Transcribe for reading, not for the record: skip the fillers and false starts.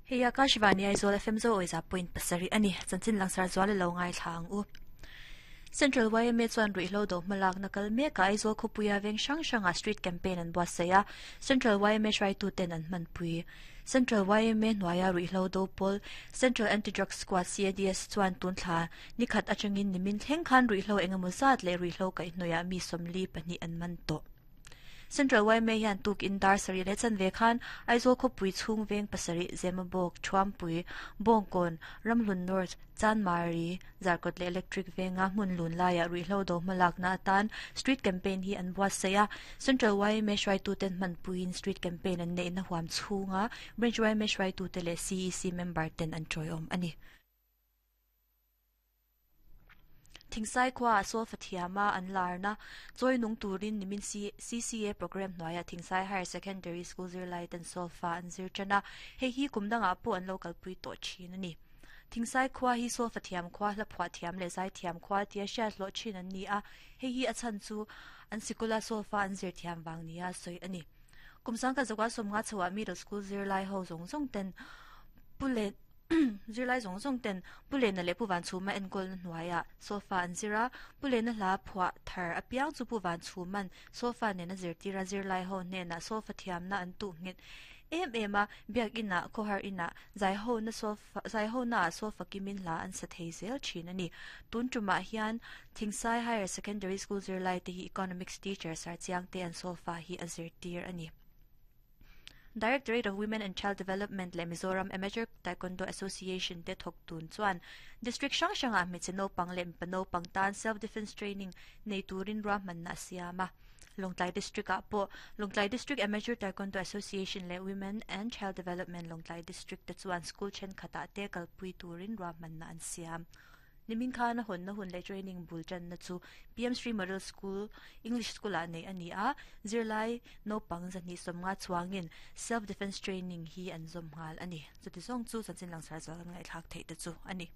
Hei Akashvani Aizawl FM zo awiza point pasarih a ni. Chanchin langsar zual i lo ngaithla ang u. Central YMA chuan ruihhlo do hmalakna kal mekah Aizawl khawpuia veng hrang hrangah street campaign an buatsaih a, Central YMA hruaituten an hmanpui. Central YMA hnuaia ruihhlo do pawl Central Anti-Drug Squad, CADS, chuan tun thla nikhat atangin nimin thleng khan ruihhlo engemaw zat leh ruihhlo kaihhnawihah mi 42 an man tawh. Central yma hian tukin dar sarih leh chanve khan Aizawl khawpui chhung veng pasarih Zemabawk, Thuampui, Bawngkawn, Ramhlun North, Chanmari, Zarkawt leh Electric venga hmun lun laiah ruihhlo do hmalakna atan Street Campaign hi an buatsaih a. Central yma hruaituten hmanpuiin Street Campaign an neihna huam chhunga Branch yma hruaitute leh CEC member ten an tawiawm a ni. Thingsai khuaah solfa thiama an larna chawi nung turin nimin CCA programme hnuaiah Thingsai Higher Secondary School zirlai ten solfa an zir tan a, hei hi kum dangah pawh an lo kalpui tawh thin a ni. Thingsai khua hi solfa thiam khua, hla phuah thiam leh zai thiam khua tia hriat hlawh thin an ni a, hei hi a chhan chu an sikula solfa an zir thiam vang nia sawi a ni. Kum sangkhat zakua sawmnga chhoah middle school zirlai ho zawng zawng ten pu leh Zirlai zawng zawng ten Pu Lena leh Pu Vanchhuma enkawlna hnuaiah sofa an zir a, Pu Lena hla phuah thar apiang chu Pu Vanchhuma'n sofa nena zirtira zirlai ho hnenah sofa thiamna an tuh nghet em em a, biakinah, khawhar inah, zaihona sofa zaihona ah sofa kimin hla an sa thei zel thin a ni. Tun tumah hian Thingsai Higher Secondary School zirlai te hi Economics teacher Sarchiang te an sofa hi a zirtir a ni. Directorate of Women and Child Development leh Mizoram Amateur Taekwondo Association te thawk tun chuan District hrang hrangah hmeichhe naupang leh mipa naupang tan Self Defence Training nei turin ruahmanna a siam a. Lawngtlai District ah pawh Lawngtlai District Amateur Taekwondo Association leh Women and Child Development Lawngtlai District te chuan school thenkhatah te kalpui turin ruahmanna an siam. Nimin khan a hawnna hun leh training bul tanna chu PM Sri Model School, English School ah neih a ni a, zirlai naupang zahnih sawmnga chuangin Self Defence Training hi an zawm nghal a ni. Chuti zawng chu chanchin langsar zual kan ngaihthlak theih te chu a ni.